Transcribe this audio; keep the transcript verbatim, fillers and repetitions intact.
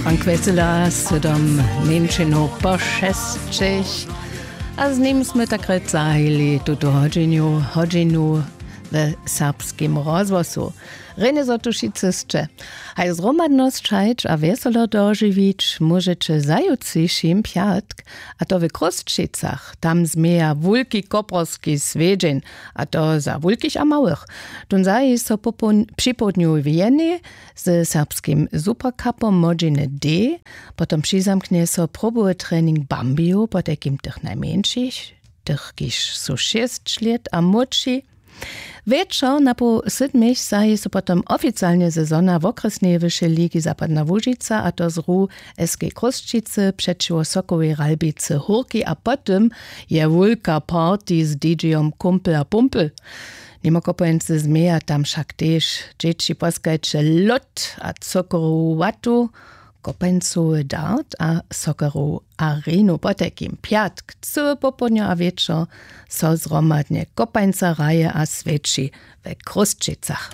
Ankwesela sydom mjeńšinow po šesćech. A z nim smy tak rjec zahajili tutu hodźinu hodźinu we serbskim rozhłosu. Rjenje zo tu wšitcy sće. Haj zhromadnosć hajć a wjeselo dožiwić móžeće zajutřišim pjatk, a to w chrósćicach. Tam změja wulki koprski swjedźeń, a to za wulkich a małych. Tón zaji so připołdnju w jenej ze serbskim supercupom młodźiny d. Potom přizamknje so probowy trening bambiju potajkim tych najmjeńšich, tych kiž su šěsć lět a młódši. Wječor na poł sydmich zahi so potom oficialnje sezona wokrjesneje wyšej ligi zapadna łužica a to z ru, sk chrósćicy přećiwo sokołej ralbicy hórki a po tym je wulka party z dj-jom kumpel a pumpel. Nimo kopańcy změja tam wšak tež dźěći poskajće lód a cukrowu watu. Kopańcowy dart a sokerowu arenu potajkim pjatk cyły popołdnjo a wječor so zhromadnje kopańca hraje a swjeći we chrósćicach.